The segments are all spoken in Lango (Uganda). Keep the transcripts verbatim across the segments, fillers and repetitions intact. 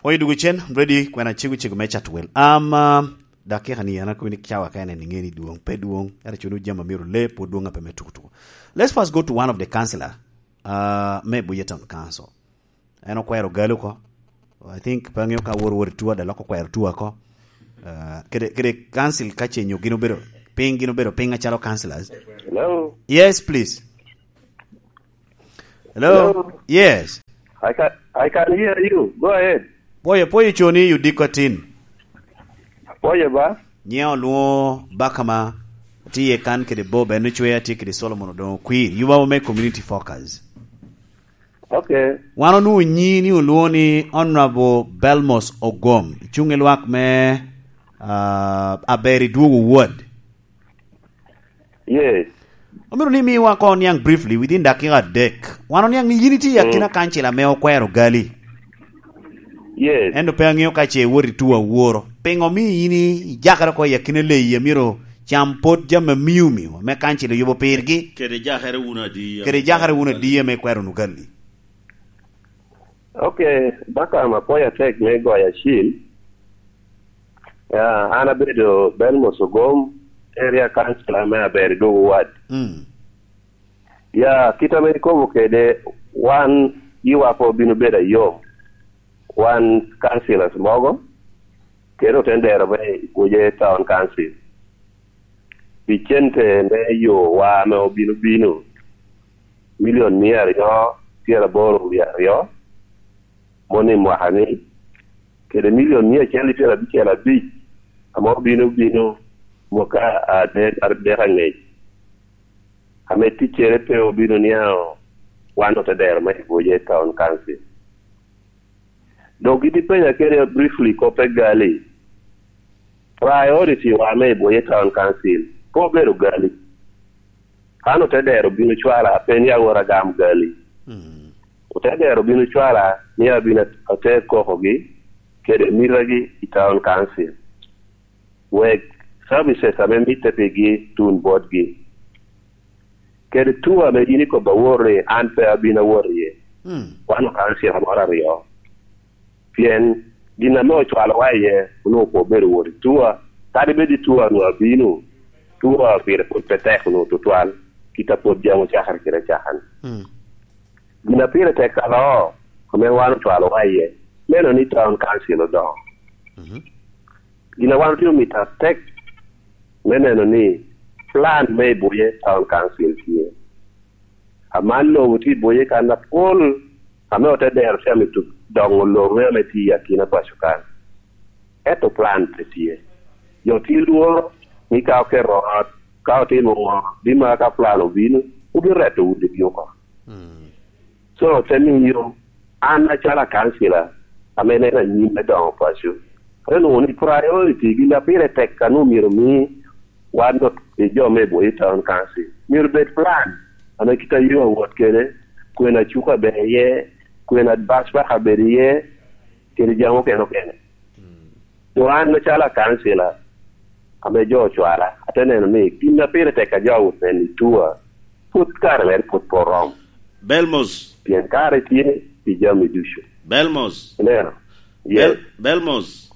Oye dwogo cen, ready, kwena cego cego me cat wel. Am, ah, dakika ni an akobo ni cawa ka en en ŋe ni dwong, pe dwong, ento cuno jami a myero le, pwod dwong a pe me tuko tuko. Let's first go to one of the councillor, ah, me Buye Town Council. En okwero gali oko. I think pe aŋeo ka wor wor i tua, da lok okwero tua oko. Ah, kede, kede council ka ce nyo gin obedo piny, gin obedo piny acalo councillors. Hello? Yes, please. Hello? Hello? Yes. I can, I can hear you. Go ahead. Pwoyo, pwoyo coni, you diko atin. Pwoyo ba? Nyiŋa olwoŋo Bakama, tye iye kan kede Bob, en ocweya, tye kede Solomon Odongo Kwir. Yuba me Community Focus. Okay. Wan onwoŋo nyi ni olwoŋo ni Honorable Belmos Ogom, cuŋ i lwak me, ah, Aber i Dwogo Ward. Yes. Omyero ni miwa koŋ oniaŋ briefly within dakika adek. Wan oniaŋ ni yin itye i akina kancil ame okwero gali. Yes. Ento pe aŋeo ka ce iwot i tuo aworo. Piŋo omio yin ijakere oko i akina leyi a myero cam pot jami amio mio ame kancil oyubo pirgi? Kede jakere wun adi? Kede jakere wun adi ame ikwero wunu gali? Ok, Bakam, apwoyo atek me goyo acil. Ya, an abedo Belmos Ogom, area councilor me Aber i Dwogo Ward. Mm. Ya, kit ame ikobo kede, wan yiwa pe obino bedo ayom. Wan councillors mogo, kede otendero me Ibuoje Town Council. Pi cente me yo wa ame obino bino, milion mia aryo pyeraboro wie aryo, moni mwaka ni, kede milion mia acel i pyerabicel abic, ame obino bino mwaka adek, adek angec, ame ticcere pe obino niaŋo wan otedero me Ibuoje Town Council. Dok gin ipenya kede briefly kop pe gali. Priority wa me Ibuoje Town Council pe obedo gali. An otedero obino cwala, pe ni awot agam gali. Mm. Otedero obino cwala, ni abino ater kokogi kede mitagi i Town Council, wek services ame mitte pigi tun botgi. Kede tuo ame yin ikobo awor ni an pe abino awot iye. Mm. Wan okaŋo cika moro aryo. Pien gin ame ocwalowa iye onwoŋo pe obedo wot i tuo. Kadi bed i tuo onwoŋo abino, tuo pire pwod pe tek onwoŋo tutwal, kit a pwod jami ocakere kede acaka-ni. Mm. Gin a pire tek aloo, ame wan ocwalowa iye, neno ni Town Council odoŋo. Mhm. Gin a wan otye omito atek me neno ni plan me Ibuoje Town Council tye. Aman lobo tye Ibuoje kan apol, ame otedero tye amito doŋo lobo me ame tye i akina paco kan. Ento plan pe tye. Jo tye lworo ni ka oketo ot, ka otimo ŋo, bino ka plan obino, obino reto udigi oko. Mm. So, te miyo an acalo akancila ame neno anyim me doŋo paco, te nwoŋo ni priority gin a pire tek a nwoŋo myero omi wan dok i jo me Ibuoje Town Council, myero bed plan ame kit a yo awot kede, kwena cuka ber iye, kwena bus park ber iye, kede jami okene okene. Mm. Doŋ an macalo akancila ame jo ocwala, ate neno ni gin a pire tek a jo awot nen i tua, pwod kare mere pwod pe oromo. Belmos. Pien kare tye pi jami ducu. Belmos. Ineno? Yes. Bel-, Belmos.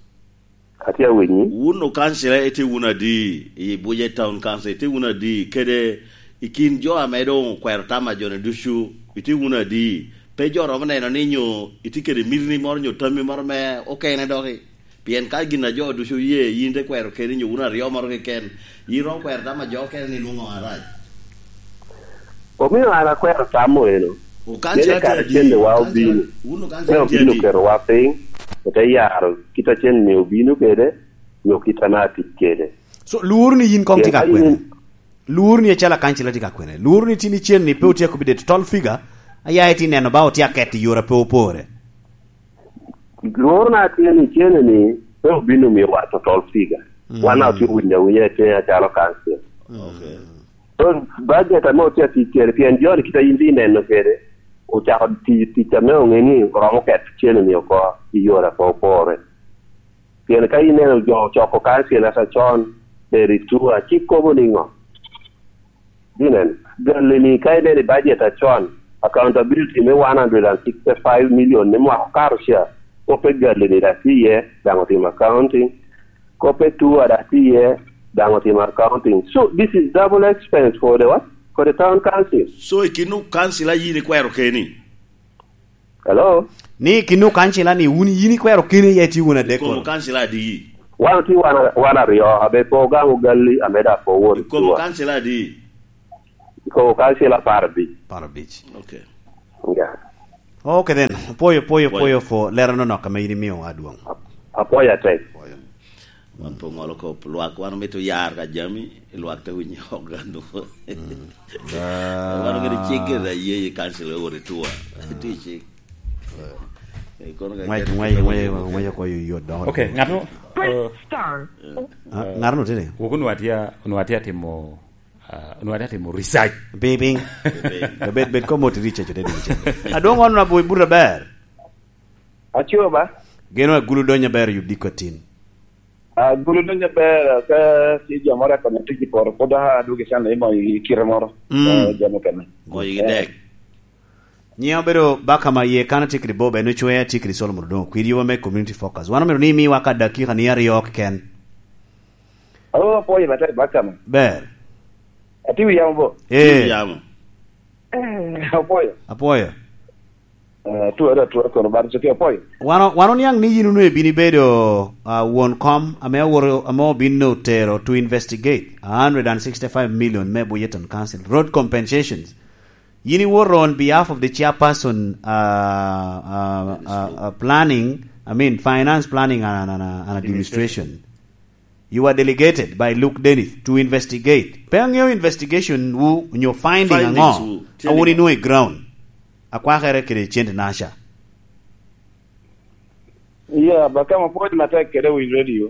Atye awinyi. Wun okancila itye wunu adi i Ibuoje Town Council? Itye wunu adi kede i kin jo ame doŋ okwero tam a joni ducu? Itye wunu adi? Pe jo romo neno ni nyo itye kede mitini moro nyo tammi moro me okene doki? Pien ka gin a jo ducu oye, yin te kwero keni nyo wun aryo moro keken, yin romo kwero tam a jo okene ni lwoŋo arac. Omio an akwero tam eno. Okancila tye adi? Mene kare cente wa obino. Wun okancila tye adi? Me obino keto wa piny, ote yaro kit a cente ni obino kede, nyo kit ame atic kede. So, lworo ni yin koŋ tye ka kwene? Lworo ni acalo akancila tye ka kwene? Lworo ni tin icen ni pe otye akobi de total figure, aya itye neno ba otye aket i yore a pe opore? Lworo na tye ni cene ni pe obino miyo wa total figure. Mm. Wan a otye winyo awinya i tenge acalo council. Mm. Okay. So, budget ame otye atic kede, pien joni kit a yin tye neno kede, ocako tiyo tic ame oŋe ni oromo keto cene ni oko i yore a pe opore. Pien ka ineno jo ocoko council ata con, eri tua, cik kobo niŋo? Ginen, gali ni ka ineno i budget acon, accountability me one hundred and sixty-five million ni mwaka okato ca, Kope Galili daŋ tye iye, daŋ otimo accounting. Kope Tua daŋ tye iye, daŋ otimo accounting. So this is double expense for the what? For the town council. So i kinwu kancila yin ikwero keni? Hello? Ni kinwu kancila ni wun yin ikwero keni iye tye wun adek kono? Kancila adi? Wan otye wan, wan aryo, abe po gaŋ ogalli, ame daŋ po wot. Ikomo kancila adi? Ikomo kancila apar abic. Apar abic. Okay. Yeah. Okay then, apoyo, apoyo, apoyo for lero no nok ame in imiyo adwong. Apoyo atek. Apoyo. Wan pe oŋolo kop lwak, wan omito yar ka jami, lwak te winyo oko gano. Wan ogedo cik gire aye i kancil owot i tua. Tye i cik. Eh, kono ka Ngwec, ket ngwec, kelo ngwec, ngwec, ngwec oko yot dok. Okay, ng'ato, eh, Star. Ah, ng'ato tye ni? Wok onwa tye, onwa tye atimo, ah, onwa tye atimo research. Piny, piny. Bed, bed komo ti research te dul cen. Adwong wan na boy burra ber. Aco ba? Geno agulu donyo ber yudi kotin. Agulu donyo ber ka si jo moro akonyo tic i poto, pwod adwogo i can i mo i kite moro. Mm. Eh, jo mukene. Mo i dek. Nyiŋa obedo Bakama ye kan atikri Bob, en ocwe atikri Solomon Odongo, kwir yuba me Community Focus. Wan omito ni imiwa ka dakika ni aryo keken. Oh, apwoyo matek Bakama. Ber. Ati wi yamo bo? Eh. Wi yamo. Eh, apwoyo. Apwoyo. Eh, tuwa da tuwa kono bar ciki apwoyo. Wano, wano niaŋ ni yin onwe bini bedo, ah, won kom, ame aworo, ame obino tero to investigate a hundred and sixty-five million me Buyeton Council. Road compensations. Yin iwoto on behalf of the chairperson, uh, uh, uh, uh, planning, I mean, finance planning and, and, and, and administration. You are delegated by Luke Dennis to investigate. Pe aŋeo investigation wu, nyo finding aŋo? Findings wu. A wun inwoŋo i ground. Akwakere kede cent naca. Yeah, but kama pwod matek kede winy radio.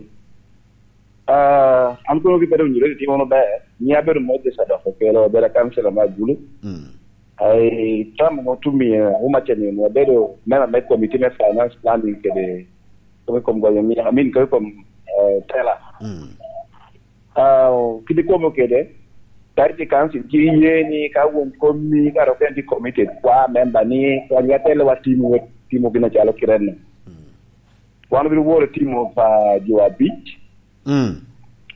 Ah, an kono ki bedo winyo ready timo maber. Nyiŋa abedo Moses Adoko Okelo, abedo kansela me Agulu. Mm. Ai, tam mo tumi, eh, uma chenyo, abedo member me committee me finance planning kede, kede kom goyo mi, I mean, kede kom, eh, teller. Mm. Ah, kidi komo kede, Charity Council, ci iye ni ka won komi, ka dok en tye committed, kwa member ni, kwa nyo atele wa timo, timo gin acalo kite no. Mm. Wan obino woro timo pa jo abic, Mm.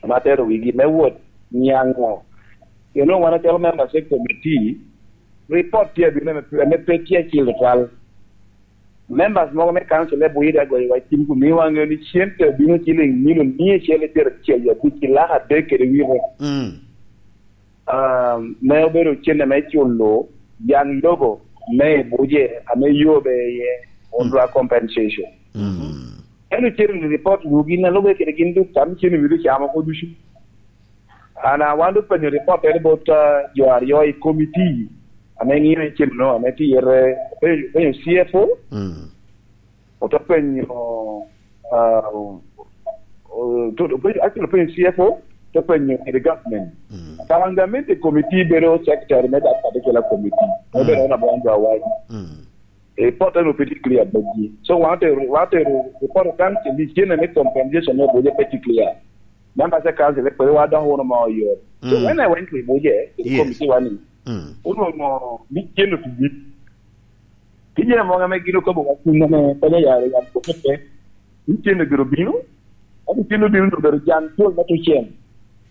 ame atero wigi me wot niaŋo. Eno wan acalo members e committee, report tye abino ame, ame pe tye acil tutwal. Members mogo me council e Buida agoyo wa cim kun miwa ŋeo ni cente obino ciling milion mia acel i pyeracel abic ki lak adek kede wite. Mm. Um, me obedo cente me culo yan lobo me i Buje ame yobe iye, mm, on dwa compensation. Mm. Ento cen report wu gin a lube kede gin duk tam cen wido camo ko ducu. Ana wan dok penyo report ene bot, uh, jo aryo i committee ame ŋiyo i cen no, ame tye ire, penyo, penyo C F O, mm. Ote penyo, ah, o-, to-, openyo, actually openyo C F O, te penyo kede government. Mm. Parliamentary committee bedo secretary me that particular committee. Mm. Obedo on abon dwa wai. Mm. E, report en obedo clear botgi. So, wan otero, wan otero report kan ke licene me compensation me Buje pe tye clear. Members of council, pe wa dok wunu ma oyor. So, mm, when I went to Buje, to the, yes, committee wani, mm, onongo licene otugi. Tye jami mogo ame gin okobo wa kuno ame konyo yaro yam koko pe. Ni cen obiro bino, ento cen obino ni obedo jang col me tucen.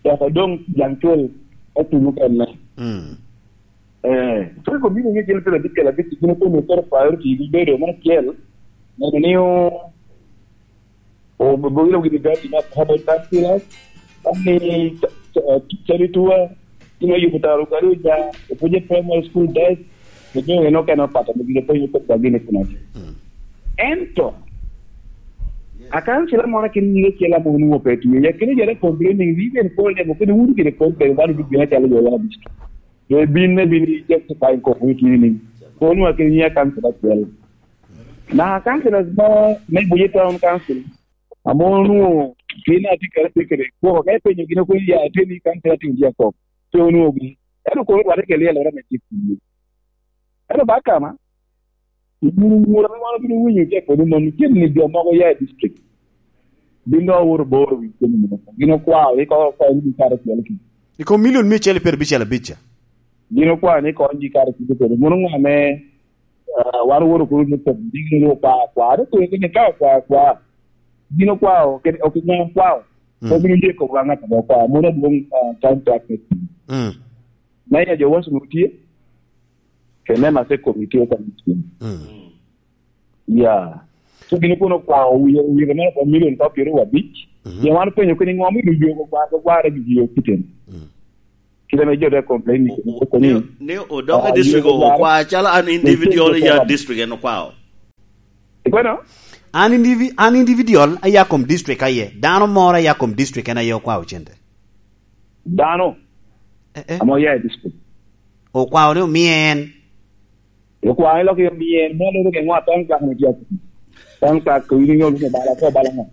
Ento doŋ jang col me tuny mukene. Mm. Eh, so iko bino ni cen pira bicel abic, gin okobo koro priority gi bedo me acel, neno ni o-, o-, obogiro gini gati na public councillors, kani ca-, ca-, charity tour, ino yubo taro gari oja, opuje primary school desk, ojo eno kena pata, mo gino piny kod gini kuna. Mm. Ento, akan sila moro kin nyinge sila mo nuwo pe tuye, ya kini jere complaining, we can call them, kini wuru kini call them, wanu bigina chalo yo ya bisto. They been, they been justifying ko wiki ni. Kono akini ya kan sila sila. Na councillors mo me Buye Town Council, ame onwoŋo gin atye kede atekere, gwoko ka ipenyo gin okoni ya atye ni council atye tye akok, pe onwoŋo gin. Ento kono rwate kede lyel ora me cik kuye. Ento ba kama, i gin wuro ame wan obino winyo tye kodi mon, tye ni jo mogo ya i district. Bin dok owoto bor wi kemi mono. Gin okwao, iko okwao ni kare cwalo ki. I kom milion mia acel i pyerabicel abic ca. Gin okwao ni kony gi kare cwalo kodi. Mono ŋo ame Ah, wan oworo kuno ni kop, diki ni okwa, okwa, dok kwe kene ka okwa, okwa. Gin okwa, ok, ok inyal kwao. Mm. Obino ye kop wa ŋat ame okwa. Mono adwoŋ, ah, time track me tim. Mm. Me ya jo wasu tye. Kene ma se kop tye ka tim. Mm. Ya. So gin kono okwa, owiye, owiye me million ka pyero wa abic. Mhm. Ya wan openyo kene ŋo mi duk yo okwa, okwa re gi yo kiten. Mm. Kite ame jo te complain ni, o-, o-, koko ni, ni, ni odok i ah, district yego dwaro okwa calo an individual ya district en okwao. Ikwano? An indivi-, an individual aya kom district aye. Dano moro aya kom district en aye okwao cente. Dano? Eh, eh. Amo ya i district. Okwao ni omiye en. Okwao ni lok omiye en. Mo loro ke ŋwa tong kak ni tiap. Tong kak ko ini nyol ni bala ko bala mo.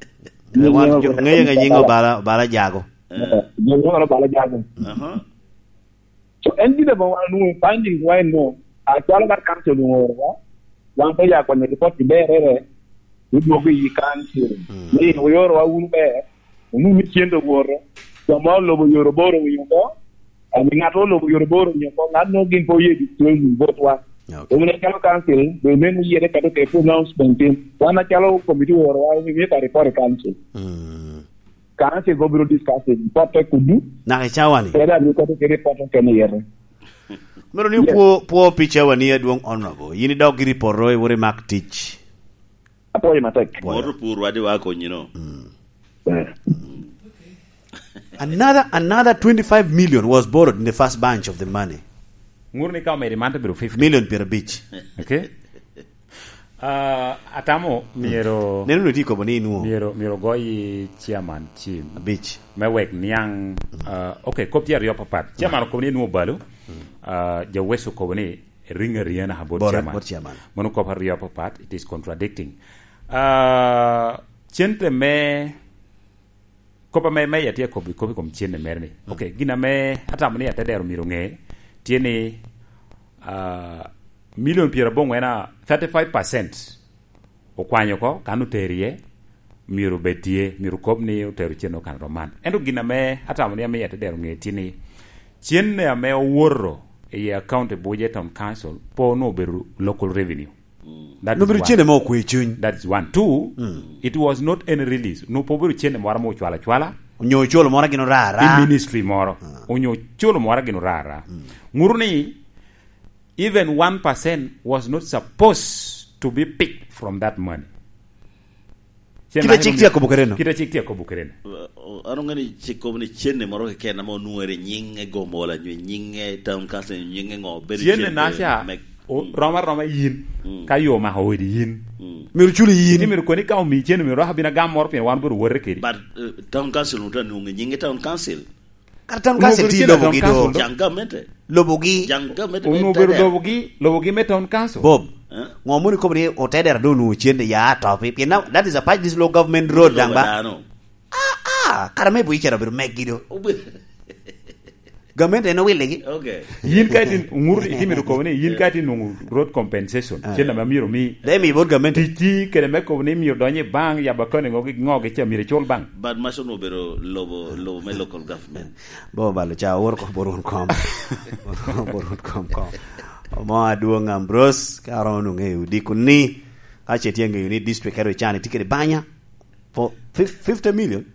Eh, wan jo, ngeye nga nying Obala, Obala Jago. Eh, jo ŋo Obala Jago. Aha. So, en gin ame wan onwoŋo findings wa en no, acwalo mar council oorowa, wan pe ya kwanyo report i berere, odwogo i council. Mm. Ni oyorowa wun ber, onwoŋo ni cen owoto, jo ma olobo yore aboro owinyo oko, ami ŋat olobo yore aboro owinyo oko, ŋat no gin pe oye disclosing vote wa. Okay. Doŋ acalo council, be meno yere kado ke pronouncement tin. Wan acalo committee oorowa, we make a report i council. Mm. Council go biro discussing, pot te kudu. Naka i cawa ni? Kede abiro koto kede pot okene yere. Mero ni Yes. pwo, pwo pi cawa ni adwoŋ honorable. Yin idok giri poto, iwor imak tic. Apwoyo matek. Apwoyo. Moto pur wadi wa konyino. Mm. Eh. Another, another twenty-five million was borrowed in the first bunch of the money. Ŋur ni ka omedi man to bedo fifty. Million pyerabic. Okay. Ah, atamo myero Neno ni tye kobo ni inwo. Myero, myero goyi chairman cim. Abic. Me wek niaŋ, ah, okay, kop tye aryo papat. Chairman okobo ni inwo balo. Ah, ja West okobo ni ring ariya naka bot Bot, chairman. Bot chairman. Mano kop aryo papat, it is contradicting. Ah, cente me Kop ame, me ya tye akobo i kop i kom cene mere ni. Mm. Okay, gin ame atamo ni atedero myero ŋe, tye ni, ah, milion pyeraboŋwen a thirty-five percent okwanyo oko, kan otero iye, myero obed tye, myero kob ni otero cene okan rom man. Ento gin ame atamo ni amiyo atedero ŋe tye ni, cene ame owoto i account e Buja Town Council, po onwoŋo obedo local revenue. Mm. That is Nobiro one. Cene mo okwe cuny. That is one. Two, mm, it was not any release. No, po obedo cene moro ma ocwalo acwala. Onyo ocolo moro gin ora ara. I ministry moro. Ah. Onyo ocolo moro gin ora ara. Mm. Ŋuru ni, even one percent was not supposed to be picked from that money. Cen Kite man cik tye akobo kede no. Kite cik tye akobo kede no. Uh, uh, an oŋeo ni cik kobo ni cene moro keken ame onwoŋere i nyiŋe Gomola, nyo i nyiŋe Town Council, nyo i nyiŋe ŋo, bedo Cene cene naca, me, o, mm, rom aroma yin, mm, ka yo omako odi yin. Mm. Myero culi yin. Iti myero koni ka omi cene myero dok abin agam moro pien wan obedo wote kedi. But, uh, Town Council onwoŋo tye anwoŋo i nyiŋe Town Council. Kara Town Council tye lobogi do. Jaŋ gamente. Lobogi. Jaŋ gamente. Onwoŋo obedo lobogi, lobogi me Town Council. Bob, eh? Ŋo mono ikobo ni otedera do onwoŋo cen ya atop? Pien now, that is a part this local government road daŋ ba? Dano. Ah, ah, kara me bui cera obedo meggi do. Obe- Gamente en owiligi. Okay. Yin ka itin, ŋur itimito kobo ni, yin ka itin nwoŋo road compensation. Ah. Cen ame myero mi. Dai mi bot gamente. Tic kede me kobo ni myero donyo i bank, yabo account ŋo gi, ŋo gi ca myero icul bank. But mac onwoŋo obedo lobo, lobo me local government. Bo balo ca, wor ko borun kom. Borun kom kom. Omo adwoŋ Ambrose, ka romo nwoŋo ŋeyo dikuni. Ka ce tye ŋeyo ni district ero ican itye kede banya. For fif-, fifty million?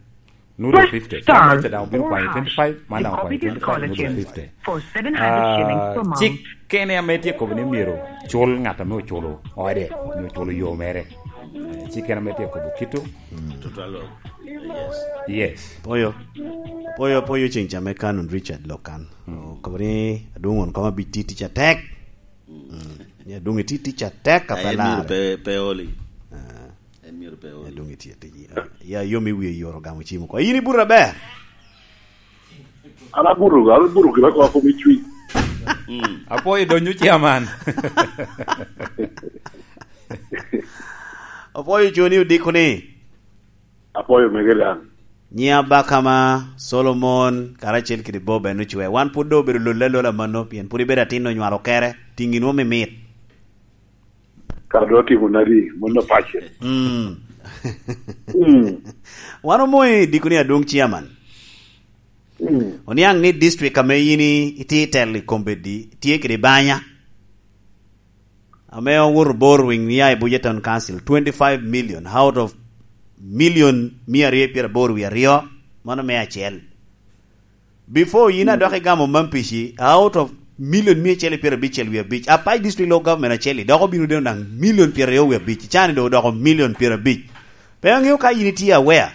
Nudo fifty. Star. Ka mece daŋ obino kwanyo twenty-five, man daŋ okwanyo twenty-five, nudo fifty. For seven hundred shillings per month. Ah, cik kene ame tye kobo ni myero cul ŋat ame oculo ode, nyo oculo yo mere. Eh, cik kene ame tye kobo kito. Tutwal lo. Yes. Yes. Poyo. Poyo, poyo ceng ca me Canon Richard Lokan. Mm. Okobo ni adwoŋ won koma bi ti tic atek. Mm. Ni adwoŋ iti tic atek a pe lare. Pe, pe oli. Ah. En myero pe ol. Adwoŋ itye atic. Ya, yom i wie yoro gamo cim oko. In ibuto aber? An abuto, an abuto gin akoa kom i cwiny. Mm. Apwoyo donyo chairman. Apwoyo coni odiko ni. Apwoyo mege dan. Nyi Abakama, Solomon, karacel kede Bob en ocwe. Wan pwod doŋ obedo lol alola mano, pien pwod ibedo atin onywalo kere, tiŋi nwo mimit. Ka dok otimo nadi, mon opace. Mm. Mm. Wan omoyo i dikoni adwoŋ chairman. Mm. Oniaŋ ni district ame in i-, itye i telo i kombeddi, tye kede banya. ame owoto Borwing, nia i Buja Town Council, twenty-five million out of million mia aryo pyeraboro wie aryo, mano me acel. Before yin adok igamo Mampici, out of million mia acel pyerabic wie abic, Apac District Local Government acel-li dok obino deno daŋ million pyeraryo wie abic, icani doŋ odoko million pyerabic. Pe aŋeo ka yin itye aware,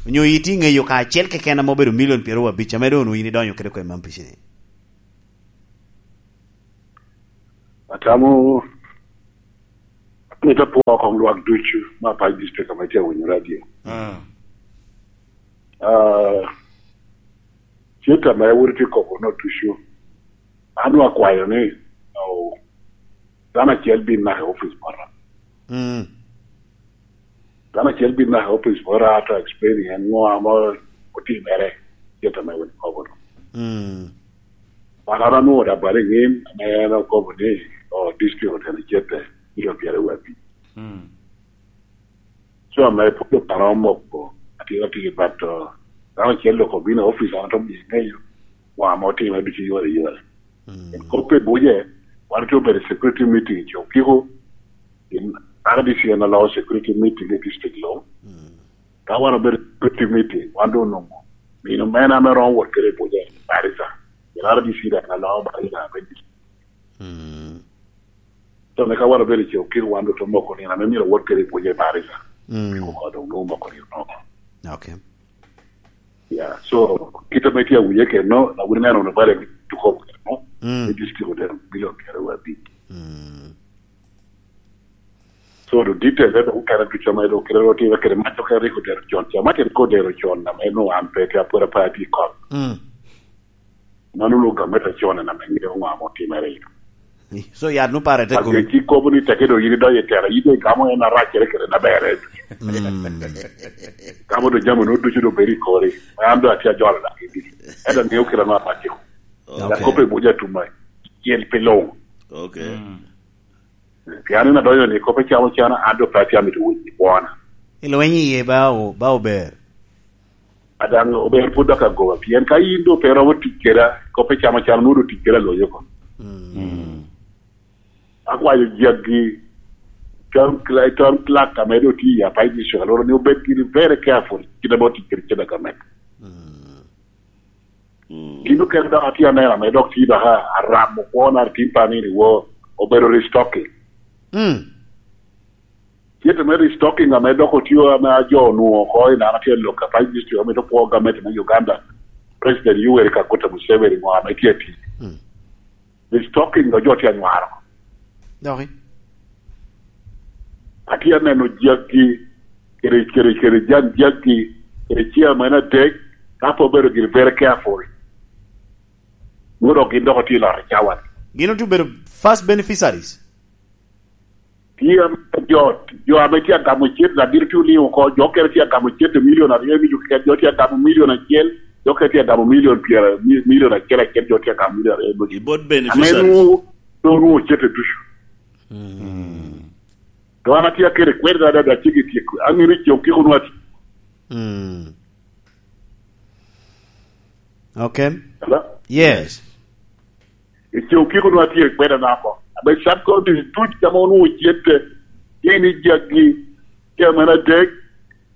onyo itye ŋeyo ka acel keken ame obedo million pyeraryo wie abic, ame doŋ onwoŋo yin idonyo kede kwe Mampici-ni. Atamo, amito apwo koŋ lwak ducu me Apac District ame tye awinyo radio. Ah. Ah, cente ame wun itye kobo no ducu, an onwoŋo akwayo ni, oh, dano acel bin naka i opic bota. Mm. Dano acel bin naka i opic bota, to explain en ŋo ame otimere, cente ame wun ikobo no. Mm. Wan an anwoŋo da bal i ŋim, ame en okobo ni, oh, district oteno cente, milion pyeraryo wie abic. Mm. So, ame pwod oparo moko, atira tye ki bat, oh, dano acel dok obino i opic, an atye myero iŋeyo ŋo ame otimere ducu i yore i yore. Mm. Kop pe buje, wan otye obedo i security meeting i Cokiko, in R D C en aloo security meeting i district luŋ. Mm. Ka wan obedo i security meeting, wan doŋ onwoŋo nino mene ame romo wot kede i buje, Barisa. Pien R D C daŋ aloo Barisa me district. Mm. So, me ka wan obedo i Cokiko, wan doŋ te moko nino ame myero wot kede i buje i Barisa. Mm. Pi oko doŋ nwoŋo moko nino oko. Okay. Yeah, so, kit ame tye awinye keno, awinyo neno wunu bale ni tuko keno, mm, i district otero bilion pyeraryo wie abic. Mm. So, the detail, eh, okene ducu ame doŋ kite otime kede mac okene rik odero con, ca mac rik odero con, ame nwoŋo an pe tye apwod apwod atye i kot. Mm. Mano onwoŋo gamente con en ame ŋeo ŋo ame otimere. So, yat nu pare te kome. Ajo ci kobo ni teke doŋ yin idonyo i tela, yin doŋ igamo en araccere kede na berre. Mm. Gamo doŋ jami nu ducu doŋ bedo i kori. An doŋ atye ajolo daŋ i diki. Ento ŋeo kite anu aracce. Okay. Dak kop i buja tuma. Cel pi luŋ. Okay. Mm. Pien in adonyo ni kop icamo cana, an doŋ pe atye amito winyo i kwona. Ilweny iye ba o-, ba ober. A daŋ ober pwod dok agoba, pien ka in doŋ pe iromo tic keda, kop icamo cana, nwoŋo doŋ tic keda loyo oko. Mm. Mm. Akwayo jaggi, town cl-, town clerk ame doŋ tye i Apac District, alworo ni obed giri very careful, kit ame otic kede cen a gamente. Mm. Mm. Gin okene dok atye aneno ame dok tye dok a-, aramo kwona, atim pa ni ni wo, obedo restocking. Mm. Cente me restocking ame dok otio ame ajo onwoŋo oko i naka tye lok Apac District, amito pwo gamente me Uganda, President Yoweri Kaguta Museveni ŋo ame tye atic. Mm. Restocking dok jo tye anywaro. Doki. Atye aneno jaggi, kede, kede, kede jan jaggi, kede chairman adek, ka pe obedo giri very careful. Nwoŋo dok gin dok otye i loro i cawa-ni. Gin otye obedo first beneficiaries. Tye ame jo, jo ame tye agamo cente, abino tye oliŋo oko, jo okene tye agamo cente milion aryo, me jo keken, jo tye agamo milion acel, jo okene tye agamo milion pyera, mi-, milion acel acel, jo tye agamo milion aryo, me I both ame beneficiaries. Nwoŋo, nwoŋo cente ducu. Mm. To an atye akede kwede adada, cik i tyeko. An mito i Cokiko nwoŋo ati. Mm. Okay. Hello? Yes. I Cokiko nwoŋo atye kwede nako. Abe sub counties duc ame onwoŋo cente, tye ni jaggi, chairman adek,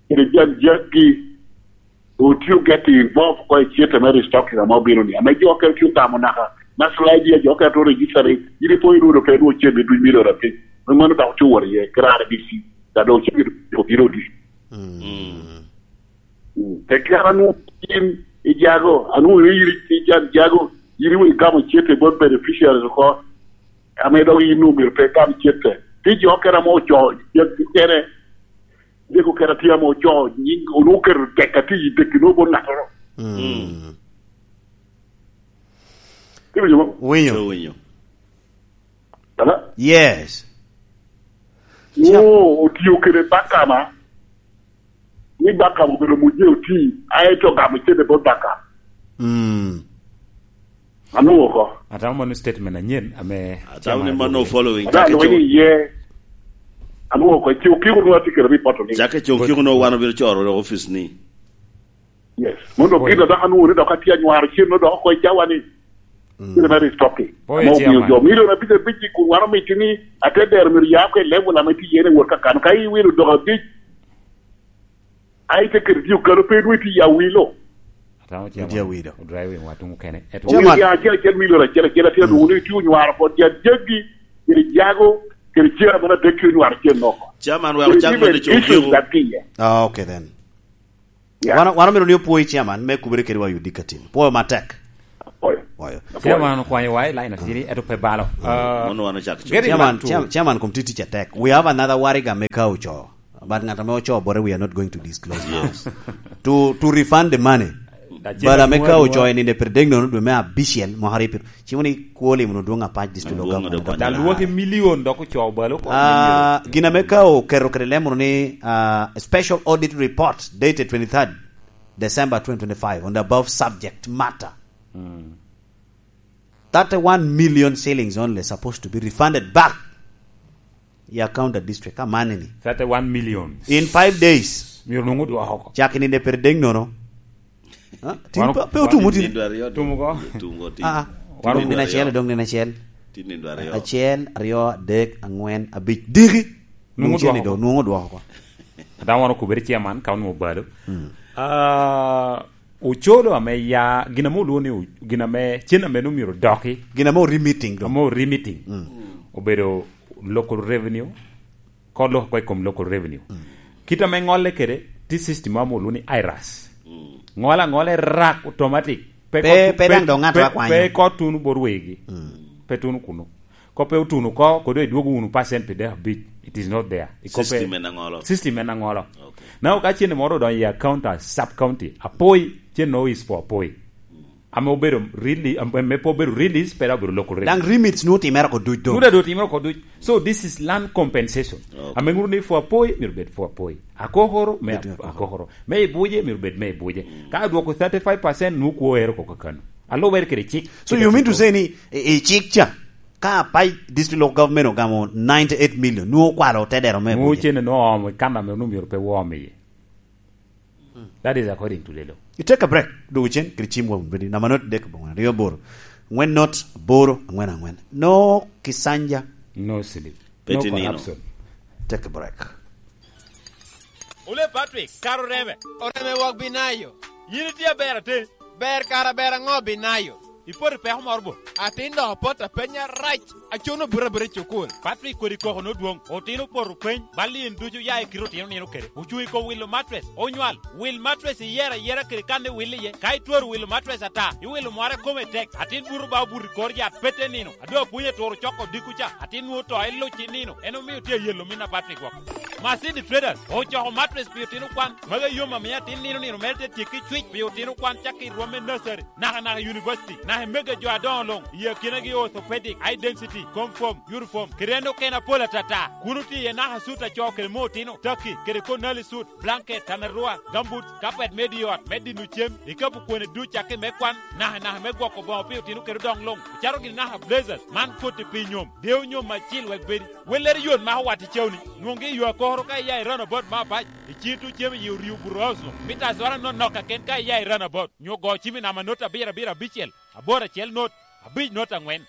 kede jan jaggi, otye getting involved oko i cente me restocking ame obino ni. Ame jo okene tye ogamo naka, national I D, jo okene tye register ni, yin ipo inwoŋo pe inwoŋo cente duc milion abic. Me mano dok tye wot iye, kede R D C, ka dok cente obino odi. Mm. Mm. Tekki an anwoŋo in i jago, anwoŋo in i jan jago, in iwe igamo cente bot beneficiaries oko, ame dok in onwoŋo myero pe igam cente. Tye jo okene ame ocoo jaggi kene, jaggi okene tye ame ocoo nying, onwoŋo oketo tek atye i tekki nwoŋo bot ŋattoro. Mm. Mm. Iwinyo mo? Winyo. Winyo. Hello? Yes. Nwoŋo otio kede bakama, ni bakama obedo muje oti, aye to gamo cente bot bakama. Mm. Anwoŋo oko. Atamo mano statement anyen ame Atamo ni mano following. Ada Cake lweny Cok. Iye. Anwoŋo oko. Cokiko nwoŋo atye kede report ni. Cake Cokiko nwoŋo wan obino coro office ni. Yes. Mondo Oi. Gin dok anwoŋo ni dok atye anywaro cen dok oko i cawa ni. Mm. Kite mere is talking. Oye, ame omio chairman. Jo milion abic abic i kun wan omito ni ate dero myero ya oko i level ame tye iye ni wot kakano. Ka iwilo dok abic, a ite kede tye okalo pe dwe tye ya wilo. Atamo chairman. Tye awilo. Odrive wa tuŋ okene. Eto Chairman. Omio ya acel acel milion acel acel atye adwogo ni tye onywaro kod ya jaggi, kede jago, kede cera mene adek ki onywaro cen oko. Chairman, wek ocak even mene co issues giko. That tye iye. Ah, okay then. Yeah. Wan, wan omito ni opwoyi chairman me kubere kede wa Yudi Katin. Pwoyo matek. Apwoyo. Pwoyo. Chairman okwanyo wa i line atiri, eto pe balo. Ah, Mono wan ocak co. Getting Chairman, back to chairman, chairman kom tye tic atek. We have another Wariga me ka oco. But ngat ame oco bote, we are not going to disclose now. Yes. To, to refund the money. Acel Bala me ka adwogo oco adwoga. En inde pere dek nono dwe me abicel mwaka ripiro. Cimo ni kwoli mono dwong apac district of government. Dwong adwogo. Dok lwaki milion dok ocoo balo oko. Ah, milion. Gin ame ka oketo kede lemo ni, ah, special audit report dated twenty-third December twenty twenty-five on the above subject matter. Mm. Thirty-one million shillings only supposed to be refunded back. Ya counter district, ka mane ni. Thirty-one million. In five days. Myero nwoŋo odwoko oko. Cak i nino pire dek nono. Ha? Tin Wano pe, pe otumo tin. Nindo aryo. Tumo ko. Tumo ko tin. Ah, ah. Wano Tin nindo dong nino acel, aryo. Dong nino acel. Tin nindo aryo. Acel, aryo, adek, angwen, abic. Diki. Nwoŋo Nwoŋo cen odwoko ni do, oko. Nwoŋo odwoko oko. Ata wano kubere chairman, ka onwoŋo balo. Mm. Ah, Ocolo ame ya, gin ame olwongo ni o-, gin ame, cen ame nwoŋo myero odoki. Gin ame ori meeting do. Ame ori meeting. Mm. Obedo local revenue, ko loko ko i kom local revenue. Mm. Kit ame ŋolle kede, tye system ame olwongo ni iras. Mm. Ŋolo aŋola i rak automatic. Pe Pe, ko tu-, pe pe, daŋ dong ŋat pe, akwanyo. Pe ko tuno bot wegi. Mm. Pe tuno kunu. Ko pe otuno oko, kodo idwogo wunu percent pi dek abic. It is not there. I ko pe System en aŋolo. System en aŋolo. Okay. Now, ka cen moro odonyo i account a sub county, Apoi, cen no is for Apoi. Ame obedo really, am-, me pe obedo release, pe dok obedo local revenue. Dang remits nu otimere oko duc do. Nu da do otimere oko duc. So, this is land compensation. Okay. Ame ŋuto ni for Apoi, myero bed for Apoi. Akokoro, me Bed Akokoro. Akokoro. Me Ibuje, myero bed me Ibuje. Mm. Ka adwoko thirty-five percent, nu kwo ero oko kakano. Alubere kede cik. So, you mean to say ni, i, i cik ca, Ka Apac District Local Government ogamo ninety-eight million, nwoŋo okwalo te dero me Nwoŋo Abuja. Cene nwoŋo oomo i kan ame onwoŋo myero pe wom iye. That is according to the law. You take a break. Dwogo cen kede cim wa wun bedi. Namba not dek boŋo aryo aboro. Angwen not aboro, angwen angwen. No kisanja. No sleep. No Peti nino. Corruption. Take a break. Ole Patrick, kara oreme. Oreme wok binayo. Yin itye aber atin. Ber kara ber aŋo binayo? Ipoto i peko moro bo? Atin dok apoto apenya rac. Acuno buto abuta i cukul. Patrick kodi koko nodwoŋ. Otino opoto peny. Bal in ducu ya i kite otino nino kede. Ocuŋ i kom wilo matres. Onywal. Wil matres iyero ayera kede kan iwil iye. Ka itwero wilo matres ata, iwilo mwara kome tek. Atin buto ba obuto i kor yat pete nino. A doŋ apwony aturo coko odiko ca, atin nwoŋo to eluc i nino, en omio tye ayelo min a Patrick woko. Masidi Traders ocoko matres pi otino kwan, magi ayom amio atin nino nino mere te tyekki cwic pi otino kwan cakki i rwom me nursery, naka naka i university, naka i mege jo adoŋo luŋ, i akinagi orthopedic, eye density, comform, uniform, kede en okene apol atata. Kun otye iye naka sut acoo kede mo otino, taki, kede konali sut, blanket, tanarua, gumboots, carpet me di ot, me dino cem, ikapu kwene duc cakki me kwan, naka naka me gwoko boŋo pi otino kede odoŋ luŋ, ocato gini naka blazers, man koti pi nyom, deo nyom acil wek bedi. Wellere yot mako wat i cawni, nwoŋgi i yo akoro ka iya i roundabout me Apac, i cito cem i Orio Bureau House no, mita azwara nonok kaken ka iya i roundabout, nyo go cim i namba not abiro abiro abicel, aboro acel not, abic not angwen.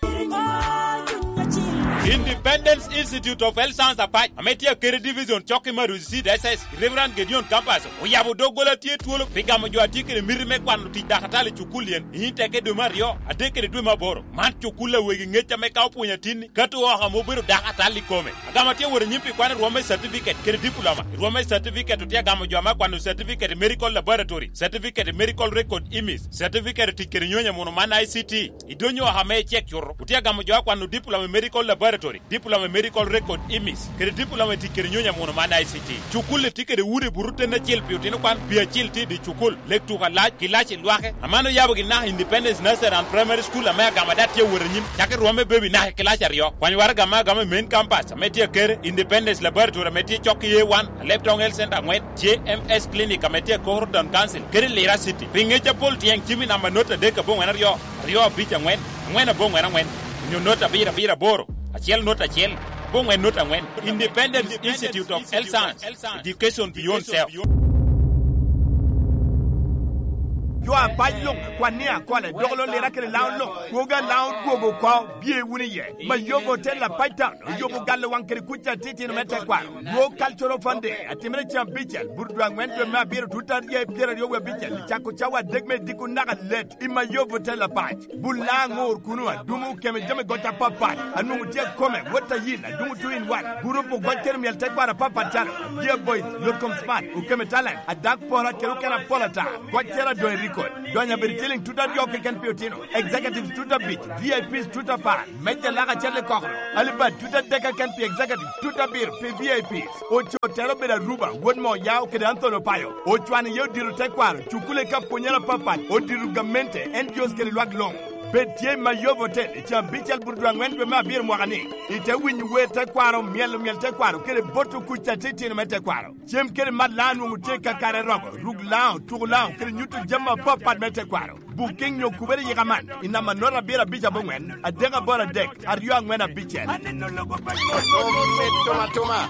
Independence Institute of Health Science Apac, ame tye akede division cok i Maruzi Seed S S, Reverend Gideon Campus, oyabo doggola tye twolo pi gamo jo a tye kede miti me kwano tic dakatali i cukul yen, i Inteke dwe me aryo, adek kede dwe me aboro. Man cukul a wegi ŋec ame ka opwonyo atinni, kato oko ame obedo dakatali i kome. Agamo tye wot anyim pi kwano rwom me certificate kede diploma. I rwom me certificate otye agamo jo ame akwano certificate i medical laboratory, certificate i medical record imis, certificate i tic kede nyonyo amuno man I C T. I dony oko ame icek cuto, otye agamo jo akwano diploma i medical laboratory, diploma i medical record imis, kede diploma i tic kede nyonyo amuno man I C T. Cukul-li tye kede udi buto ten acel pi otino kwan, pi acil tye i dye cukul, lek tuko alac, kilaci lwake. Aman oyabo gin naka Independence Nursery and Primary School ame agamo dok tye wot anyim, cakki rwom me baby naka i kilaci aryo. Kwany waraga ame agamo i main campus ame tye akere, Independence Laboratory ame tye cok i A one, Alebtong Health Center angwen, J M S Clinic ame tye akoro Town Council, kede Lira City. Pi ŋec apol tyeng cim i namba not adek aboŋwen aryo, aryo abic angwen, angwen aboŋwen angwen, onyo not abiro abiro aboro, acel not acel, aboŋwen not angwen. Independence Institute of Health Science, Education Beyond Self. Jo apac luŋ, kwan ni akole, dok lo lira kede Laŋo luŋ, kwogo a Laŋo dwogo oko, bye wunu iye. Mayobo Hotel Apac Town, oyobo galo waŋ kede kuc atitino me tekwaro. Dwo Cultural Fund Day, atimere cen abicel, burudwa aŋwen dwe me abiro, tut aryo i pyeraryo wie abicel, cako cawa adek me diko naka let, i Mayobo Hotel Apac. Bul Laŋo ŋor kuno, adumo, keme jami goc apapat, anwoŋo tye akome, wot a yin, adumo two in one, gurup ogoc kede myel tekwaro apapat calo, Dear Boys, Lotkom Smart, Okeme Talent, Adak Pora kede okene apol ata, goc cero adoŋ i record, donyo abedo ciliŋ tut aryo keken pi otino, executives tut abic, V I Ps tut apar, meja lak acel i kokoro, alibad tut adek keken pi executive, tut abiro pi V I Ps, oco tero obedo Aruba, wod Moyao kede Anthony Opayo, ocwano iye odiro tekwaro, cukule ka pwonyere apapat, odiro gamente, N G Os kede lwak luŋ. Bed tye i Mayobo Hotel, i cen abicel burudwa aŋwen dwe me abiro mwaka ni, ite winyo wer tekwaro, myelo myel tekwaro, kede boto kuc atitino me tekwaro. Cem kede mat Laŋo nwoŋo tye kakare romo, ruk Laŋo, tuko Laŋo, kede nyuto jami apapat me tekwaro. Booking nyo kubere yika man, i namba nota abiro abic aboŋwen, adek aboro adek, aryo aŋwen abicel. Aneno lobo pa Tuma, tuma, tuma.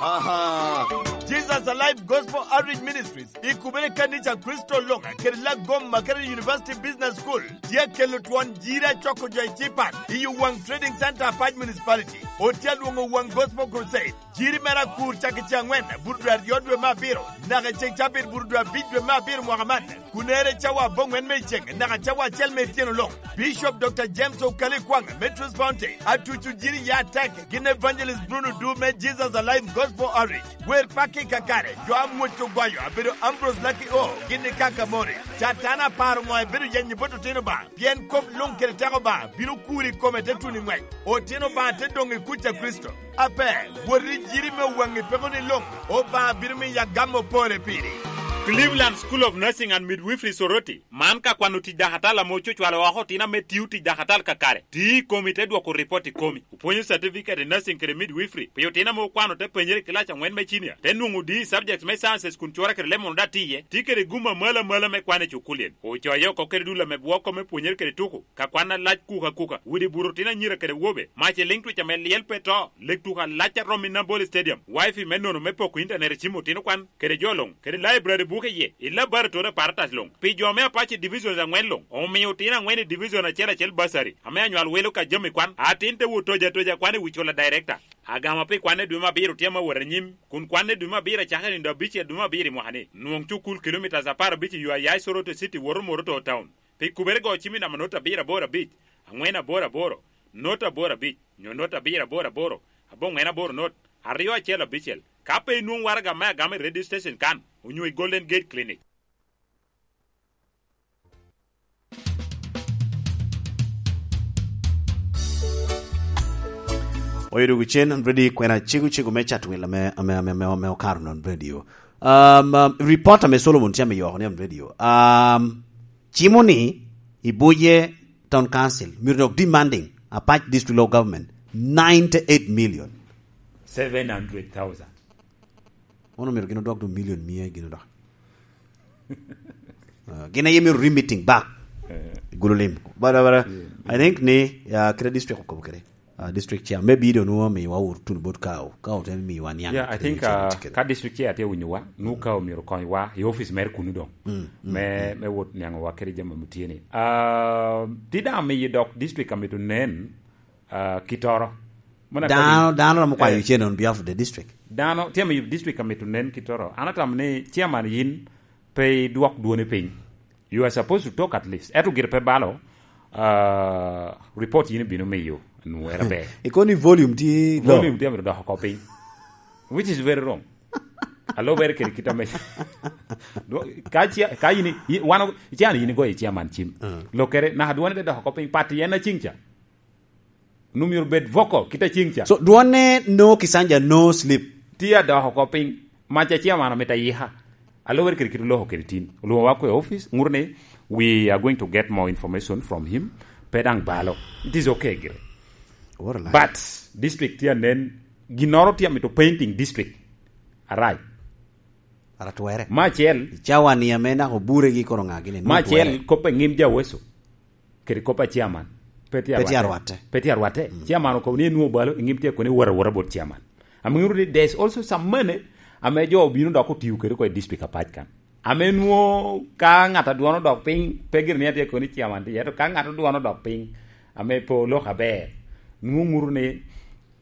Aha. Jesus Alive Gospel Outreach Ministries, i kubere kanica Kristo Loŋa, kede Lagoma, kede University Business School, tye kelo twon jiri acoko jo i Cipan, i Owaŋ Trading Center, Apac Municipality. Otye alwoŋo Owaŋ Gospel Crusade. Jiri mere akur cak i cen aŋwen, burudwe aryo dwe me abiro, naka i cen cabit burudwe abic dwe me abiro mwaka man. Kunere cawa aboŋwen me i cen, naka cawa acel me ityeno luŋ. Bishop Doctor James Okali Kwaŋ me Truth Fountain, atuco jiri ya tek, gin Evangelist Bruno Du me Jesus Alive Gospel Outreach. Wer pakki kakare, jo amwoc ogoyo, abedo Ambrose Lucky O, gin i Kaka Morris. Catan aparo ŋo ebedo yenyo bot otino ba, pien kop luŋ kede teko ba, bino kuri kome te tuno i ŋwec. Otino ba te doŋ i kuc a Kricito. Ape, wot i jiri me waŋi peko ni luŋ, Obaŋa bino miyo agamo pore piri. Cleveland School of Nursing and Midwifery Soroti, man ka kwano tic dakatal ame ococwalo oko otino ame tio tic dakatal kakare, ti i komi te dwoko ripot i komi. Opwonyo certificate i nursing kede midwifery pi otino ame okwano te penyere i kilac aŋwen me cinia, te nwoŋo D E subjects me sciences kun cwora kede lemon oda tiye, ti kede gum amalo amalo me kwan i cukulien. Ocoyo oko kede dul ame bwoko me pwonyere kede tuko, ka kwan alac kuka kuka, widi buto otino anyira kede wobe, mac i liŋ twic ame lyel pe to, leg tuko alac a romo i Nambole Stadium, wifi me nono me poko intanet i cim otino kwan, kede jo luŋ, kede laibrari buke iye, i laboratory apparatus luŋ, pi jo me apac i divisions aŋwen luŋ, omio otino aŋwen i division acel acel bursary, ame anywal wilo ka jami kwan, atin te wot toja toja kwan i wi cula director. Agama pi kwanne dwe me abiro tye ame wot anyim, kun kwanne dwe me abiro acakere nindo abicel dwe me abiro i mwaka ni, nwoŋ cukul kilomitas apar abic i yo a ya i Soroti City woto Moroto Town. Pi kubere go cim i namba not abiro aboro abic, aŋwen aboro aboro, not aboro abic, nyo not abiro aboro aboro, aboŋwen aboro not, aryo acel abicel. Ka pe inwoŋ waraga me agama i radio station kan, onyo i Golden Gate Clinic. Oyo dwogo cen, an ready kwena cego cego me cat wil ame, ame, ame, ame, ame okaro non radio. Um, um, reporter me Solomon tye ame yoko ni on radio. Um, cimo ni i Buje Town Council, myero dok demanding Apac District Local Government ninety-eight million. Seven hundred thousand. Ono myero gin odwok do million mia gin odok. Uh, gin aye myero remeeting back. Eh. Gulu lim. But, but, but, yeah, I think ni, uh, kede district okobo kede. Uh, district chair. Maybe do nuwa mi wa ur tun bot kao. Kao ten mi wa niang. Yeah, I think, uh, ka district chair te winyo wa, nu kao myero kony wa, i office mer kunu dong. Mm, mm, me, mm, me wot niang wa kede jami mutye ni. Uh, ti dang mi dok district amito nen, uh, kitoro. Mano dano, dano romo kwayo, eh, cen on behalf of the district. Dano, tye mi district amito nen kitoro. An atamo ni chairman yin pe idwok dwoni piny. You are supposed to talk at least. Eto gire pe balo, uh, report yin ibino miyo nwera ber. Ikoni volume ti low. Volume ti amito dok oko piny. Which is very wrong. Alo ber kede kita me. Dwo-, ka chia-, ka yin i-, wan o-, ichano yin igoyo i chairman cim. Mm. Lokere, naka dwoni de dok oko piny, party en acing cha. Nu myero bed vocal, kit acing cha. So, dwonne no Kisanja, no sleep. Ti adok oko piny, mac a chairman amito ayika. Alubere kede kit oloko kede tin. Olwoŋo wa kwe office, ŋuto ni, we are going to get more information from him. Pe dang balo. It is okay gire. What a lie. But, district ti anen, ginoro ti amito painting district. Arai. Aratwere. Ma acel. Cawa ni ame nako bure gi koro ŋa gini. Ma acel, kop a ŋim ja weso. Kede kop a chairman. Pe tye arwatte. Pe tye arwatte. Pe tye arwatte. Mm. Chairman okobo ni enwoŋo balo, i ŋim tye koni wora wora bot chairman. Amiŋo ni there is also some money ame jo obino dok otiyo kede oko i district apac kan. Ame nwo ka ŋat adwono dok piny, pe gire ni atye koni chairman tye, ento ka ŋat adwono dok piny, ame pe olok aber, nwo ŋuto ni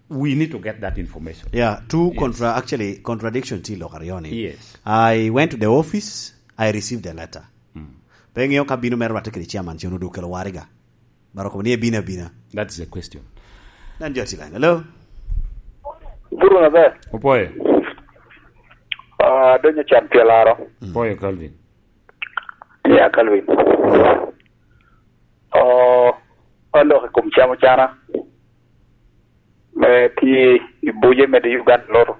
we need to get that information. Yeah, two Yes. contra-, actually, contradiction tye i lok aryo ni. Yes. I went to the office, I received a letter. Mm. Pe ŋeo ka bino mere rwatte kede chairman, cen odu kelo wariga. Bara kobo ni ebino abina. That's the question. Nan jo tye line. Hello? Buru na ber. Opoyo. Ah, donyo can pye laro. Mm. Opoyo, Calvin. Ya, Calvin. Oh, alok i kom camo cana. Me ti i buje me di Uganda loto.